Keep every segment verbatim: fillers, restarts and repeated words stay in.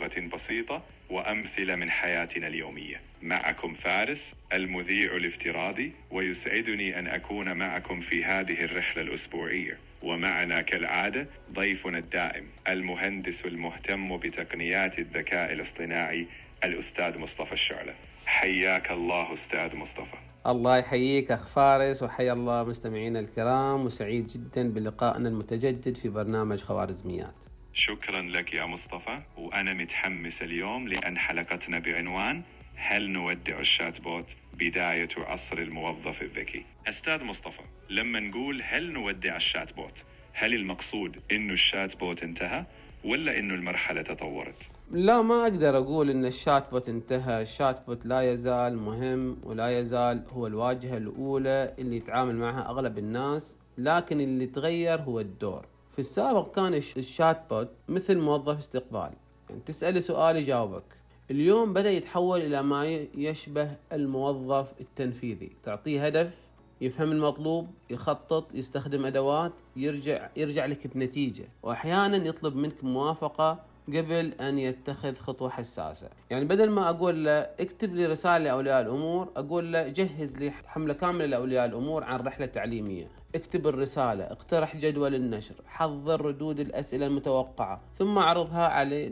بلغة بسيطة وأمثلة من حياتنا اليومية. معكم فارس المذيع الافتراضي، ويسعدني أن أكون معكم في هذه الرحلة الأسبوعية. ومعنا كالعادة ضيفنا الدائم المهندس المهتم بتقنيات الذكاء الاصطناعي الأستاذ مصطفى الشعلة. حياك الله أستاذ مصطفى. الله يحييك أخ فارس، وحيا الله مستمعينا الكرام، وسعيد جدا بلقائنا المتجدد في برنامج خوارزميات. شكرا لك يا مصطفى، وأنا متحمس اليوم لأن حلقتنا بعنوان هل نودع الشات بوت بداية عصر الموظف الذكي. أستاذ مصطفى، لما نقول هل نودع الشات بوت، هل المقصود إنه الشات بوت انتهى ولا إنه المرحلة تطورت؟ لا، ما أقدر أقول إن الشات بوت انتهى. الشات بوت لا يزال مهم ولا يزال هو الواجهة الأولى اللي يتعامل معها أغلب الناس، لكن اللي تغير هو الدور. في السابق كان الشات بوت مثل موظف استقبال، يعني تسأله سؤال يجاوبك. اليوم بدأ يتحول إلى ما يشبه الموظف التنفيذي، تعطيه هدف، يفهم المطلوب، يخطط، يستخدم أدوات، يرجع يرجع لك بنتيجة، وأحيانا يطلب منك موافقة قبل أن يتخذ خطوة حساسة. يعني بدل ما أقول له اكتب لي رسالة لأولياء الأمور، أقول له جهز لي حملة كاملة لأولياء الأمور عن رحلة تعليمية، اكتب الرسالة، اقترح جدول النشر، حضر ردود الأسئلة المتوقعة، ثم عرضها عليه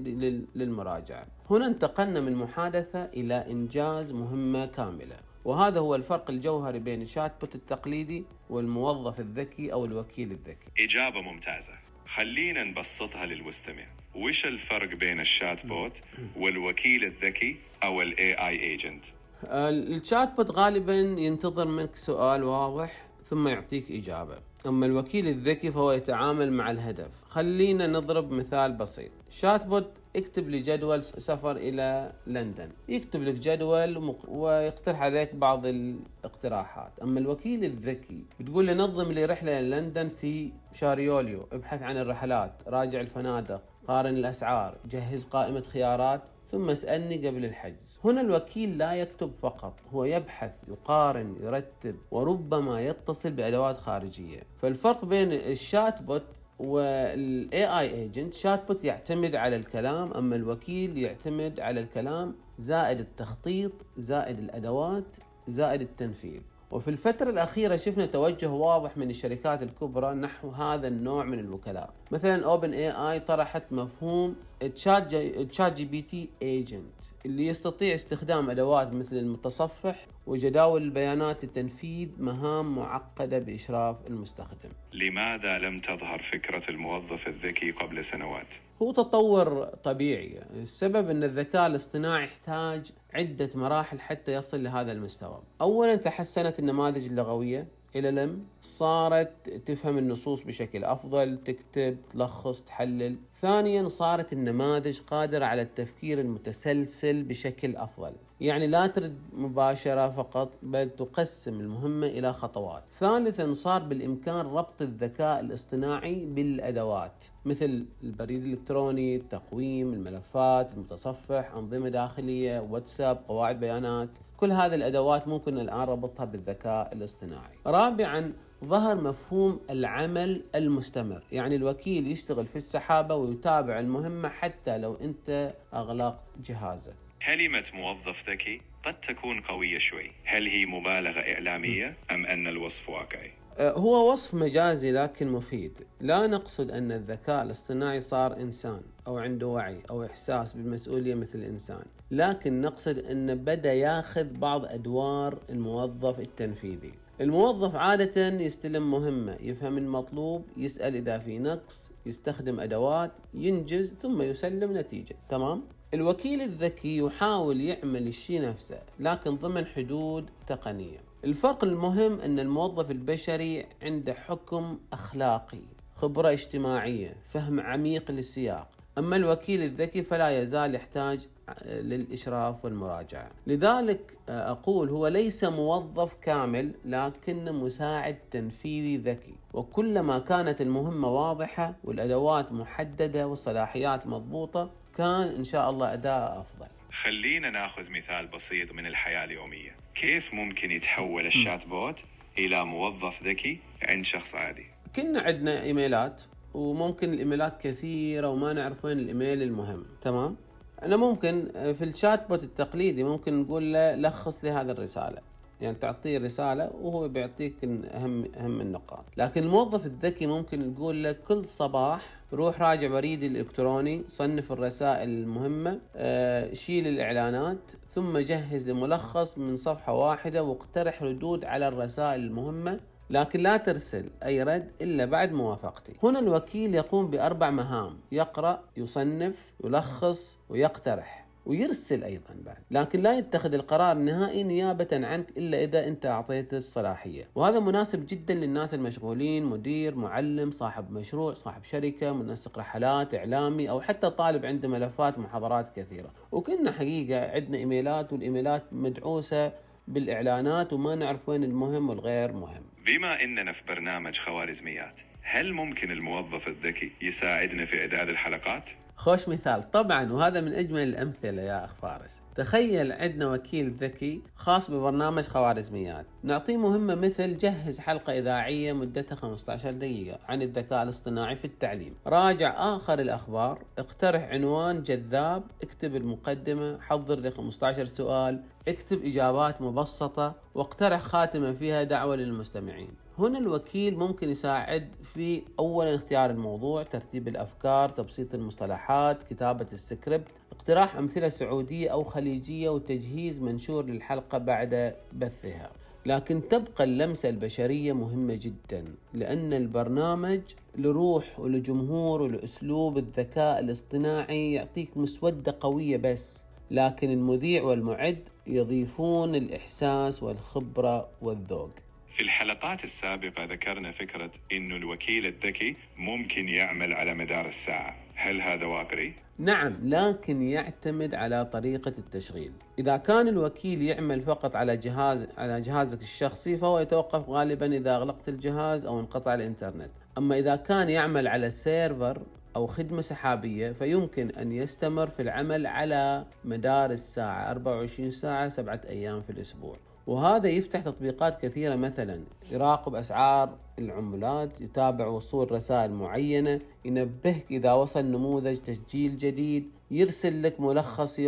للمراجعة. هنا انتقلنا من محادثة إلى إنجاز مهمة كاملة، وهذا هو الفرق الجوهري بين الشات بوت التقليدي والموظف الذكي أو الوكيل الذكي. إجابة ممتازة. خلينا نبسطها للمستمع. وش الفرق بين الشات بوت والوكيل الذكي أو ال إيه آي agent؟ الشات بوت غالبا ينتظر منك سؤال واضح ثم يعطيك إجابة، أما الوكيل الذكي فهو يتعامل مع الهدف. خلينا نضرب مثال بسيط. شات بوت اكتب لي جدول سفر إلى لندن، يكتب لك جدول ويقترح عليك بعض الاقتراحات. أما الوكيل الذكي بتقول له نظم لي رحلة إلى لندن في شهر يوليو، ابحث عن الرحلات، راجع الفنادق، قارن الأسعار، جهز قائمة خيارات، ثم اسألني قبل الحجز. هنا الوكيل لا يكتب فقط، هو يبحث، يقارن، يرتب، وربما يتصل بأدوات خارجية. فالفرق بين الشات بوت وال إيه آي agent، شات بوت يعتمد على الكلام، أما الوكيل يعتمد على الكلام زائد التخطيط زائد الأدوات زائد التنفيذ. وفي الفترة الأخيرة شفنا توجه واضح من الشركات الكبرى نحو هذا النوع من الوكلاء. مثلا أوبن إيه آي طرحت مفهوم تشات جي بي تي agent اللي يستطيع استخدام أدوات مثل المتصفح وجداول البيانات لتنفيذ مهام معقدة بإشراف المستخدم. لماذا لم تظهر فكرة الموظف الذكي قبل سنوات؟ هو تطور طبيعي. السبب أن الذكاء الاصطناعي يحتاج عدة مراحل حتى يصل لهذا المستوى. أولا تحسنت النماذج اللغوية إلى لم صارت تفهم النصوص بشكل أفضل، تكتب، تلخص، تحلل. ثانيا صارت النماذج قادرة على التفكير المتسلسل بشكل أفضل، يعني لا ترد مباشرة فقط بل تقسم المهمة إلى خطوات. ثالثا صار بالإمكان ربط الذكاء الاصطناعي بالأدوات مثل البريد الإلكتروني، التقويم، الملفات، المتصفح، أنظمة داخلية، واتساب، قواعد بيانات. كل هذه الأدوات ممكن الآن ربطها بالذكاء الاصطناعي. رابعا ظهر مفهوم العمل المستمر، يعني الوكيل يشتغل في السحابة ويتابع المهمة حتى لو أنت أغلقت جهازك. كلمة موظف ذكي قد تكون قوية شوي، هل هي مبالغة إعلامية أم أن الوصف واقعي؟ هو وصف مجازي لكن مفيد. لا نقصد أن الذكاء الاصطناعي صار إنسان أو عنده وعي أو إحساس بالمسؤولية مثل الإنسان، لكن نقصد أنه بدأ ياخذ بعض أدوار الموظف التنفيذي. الموظف عادة يستلم مهمة، يفهم المطلوب، يسأل إذا في نقص، يستخدم أدوات، ينجز، ثم يسلم نتيجة. تمام؟ الوكيل الذكي يحاول يعمل الشيء نفسه لكن ضمن حدود تقنية. الفرق المهم أن الموظف البشري عنده حكم أخلاقي، خبرة اجتماعية، فهم عميق للسياق. أما الوكيل الذكي فلا يزال يحتاج للإشراف والمراجعة. لذلك أقول هو ليس موظف كامل لكن مساعد تنفيذي ذكي، وكلما كانت المهمة واضحة والأدوات محددة والصلاحيات مضبوطة كان إن شاء الله أداء أفضل. خلينا ناخذ مثال بسيط من الحياة اليومية. كيف ممكن يتحول الشات بوت إلى موظف ذكي عند شخص عادي؟ كنا عندنا إيميلات وممكن الإيميلات كثيرة وما نعرف وين الإيميل المهم. تمام؟ أنا ممكن في الشات بوت التقليدي ممكن نقول له لخص لي هذه الرسالة، يعني تعطيه رسالة وهو بيعطيك أهم أهم النقاط. لكن الموظف الذكي ممكن نقول له كل صباح روح راجع بريدي الإلكتروني، صنف الرسائل المهمة، آه، شيل الإعلانات، ثم جهز لملخص من صفحة واحدة واقترح ردود على الرسائل المهمة، لكن لا ترسل أي رد إلا بعد موافقتي. هنا الوكيل يقوم بأربع مهام: يقرأ، يصنف، يلخص، ويقترح، ويرسل أيضا بعد، لكن لا يتخذ القرار النهائي نيابة عنك إلا إذا أنت أعطيته الصلاحية. وهذا مناسب جدا للناس المشغولين، مدير، معلم، صاحب مشروع، صاحب شركة، منسق رحلات، إعلامي، أو حتى طالب عنده ملفات محاضرات كثيرة. وكنا حقيقة عندنا إيميلات، والإيميلات مدعوسة بالإعلانات وما نعرف وين المهم والغير مهم. بما إننا في برنامج خوارزميات، هل ممكن الموظف الذكي يساعدنا في إعداد الحلقات؟ خوش مثال طبعا، وهذا من أجمل الأمثلة يا أخ فارس. تخيل عندنا وكيل ذكي خاص ببرنامج خوارزميات، نعطيه مهمة مثل جهز حلقة إذاعية مدتها خمسة عشر دقيقة عن الذكاء الاصطناعي في التعليم، راجع آخر الأخبار، اقترح عنوان جذاب، اكتب المقدمة، حضر لي خمسة عشر سؤال، اكتب إجابات مبسطة، واقترح خاتمة فيها دعوة للمستمعين. هنا الوكيل ممكن يساعد في أولا اختيار الموضوع، ترتيب الأفكار، تبسيط المصطلحات، كتابة السكريبت، اقتراح أمثلة سعودية أو خليجية، وتجهيز منشور للحلقة بعد بثها. لكن تبقى اللمسة البشرية مهمة جدا، لأن البرنامج لروح ولجمهور ولأسلوب. الذكاء الاصطناعي يعطيك مسودة قوية بس، لكن المذيع والمعد يضيفون الإحساس والخبرة والذوق. في الحلقات السابقة ذكرنا فكرة إنه الوكيل الذكي ممكن يعمل على مدار الساعة، هل هذا واقعي؟ نعم، لكن يعتمد على طريقة التشغيل. إذا كان الوكيل يعمل فقط على جهاز على جهازك الشخصي فهو يتوقف غالبا إذا أغلقت الجهاز أو انقطع الإنترنت. أما إذا كان يعمل على سيرفر أو خدمة سحابية فيمكن أن يستمر في العمل على مدار الساعة، أربعة وعشرين ساعة، سبعة أيام في الأسبوع. وهذا يفتح تطبيقات كثيرة، مثلا يراقب أسعار العملات، يتابع وصول رسائل معينة، ينبهك إذا وصل نموذج تسجيل جديد، يرسل لك ملخص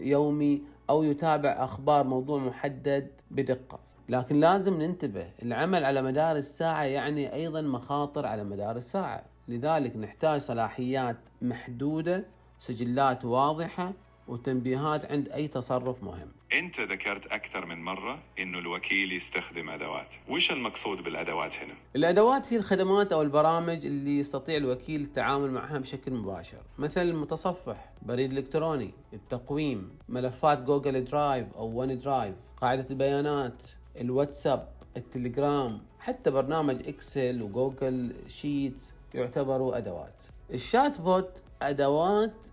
يومي، أو يتابع أخبار موضوع محدد بدقة. لكن لازم ننتبه، العمل على مدار الساعة يعني أيضا مخاطر على مدار الساعة، لذلك نحتاج صلاحيات محدودة، سجلات واضحة، وتنبيهات عند أي تصرف مهم. أنت ذكرت أكثر من مرة إنه الوكيل يستخدم أدوات، وش المقصود بالأدوات هنا؟ الأدوات هي الخدمات أو البرامج اللي يستطيع الوكيل التعامل معها بشكل مباشر، مثل المتصفح، بريد إلكتروني، التقويم، ملفات جوجل درايف أو ون درايف، قاعدة البيانات، الواتساب، التليجرام، حتى برنامج إكسل وجوجل شيتس يعتبروا أدوات. الشات بوت أدوات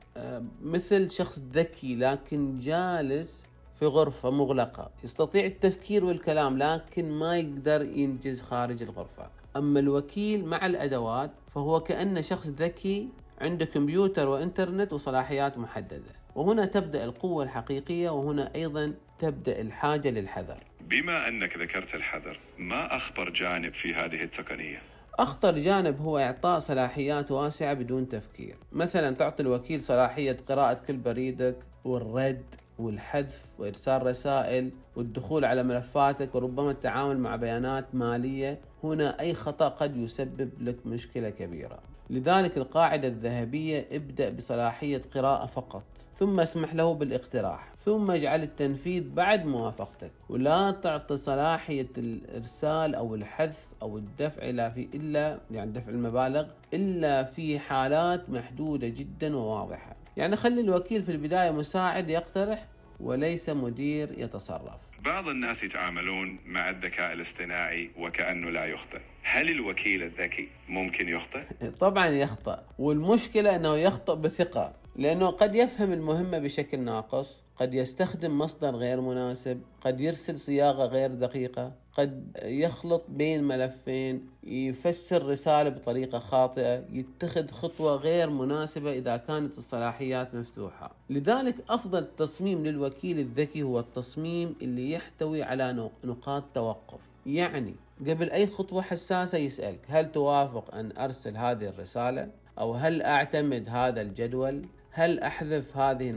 مثل شخص ذكي لكن جالس في غرفة مغلقة، يستطيع التفكير والكلام لكن ما يقدر ينجز خارج الغرفة. أما الوكيل مع الأدوات فهو كأنه شخص ذكي عنده كمبيوتر وإنترنت وصلاحيات محددة، وهنا تبدأ القوة الحقيقية، وهنا أيضا تبدأ الحاجة للحذر. بما أنك ذكرت الحذر، ما أخطر جانب في هذه التقنية؟ أخطر جانب هو إعطاء صلاحيات واسعة بدون تفكير، مثلا تعطي الوكيل صلاحية قراءة كل بريدك والرد والحذف وإرسال رسائل والدخول على ملفاتك، وربما التعامل مع بيانات مالية. هنا أي خطأ قد يسبب لك مشكلة كبيرة. لذلك القاعدة الذهبية: ابدأ بصلاحية قراءة فقط، ثم اسمح له بالاقتراح، ثم اجعل التنفيذ بعد موافقتك، ولا تعطي صلاحية الإرسال أو الحذف أو الدفع إلا في إلا يعني دفع المبالغ إلا في حالات محدودة جدا وواضحة. يعني خلي الوكيل في البداية مساعد يقترح وليس مدير يتصرف. بعض الناس يتعاملون مع الذكاء الاصطناعي وكأنه لا يخطئ، هل الوكيل الذكي ممكن يخطئ؟ طبعا يخطئ، والمشكلة أنه يخطئ بثقة، لأنه قد يفهم المهمة بشكل ناقص، قد يستخدم مصدر غير مناسب، قد يرسل صياغة غير دقيقة، قد يخلط بين ملفين، يفسر رسالة بطريقة خاطئة، يتخذ خطوة غير مناسبة إذا كانت الصلاحيات مفتوحة. لذلك أفضل تصميم للوكيل الذكي هو التصميم اللي يحتوي على نقاط توقف، يعني قبل أي خطوة حساسة يسألك: هل توافق أن أرسل هذه الرسالة؟ أو هل أعتمد هذا الجدول؟ هل أحذف هذه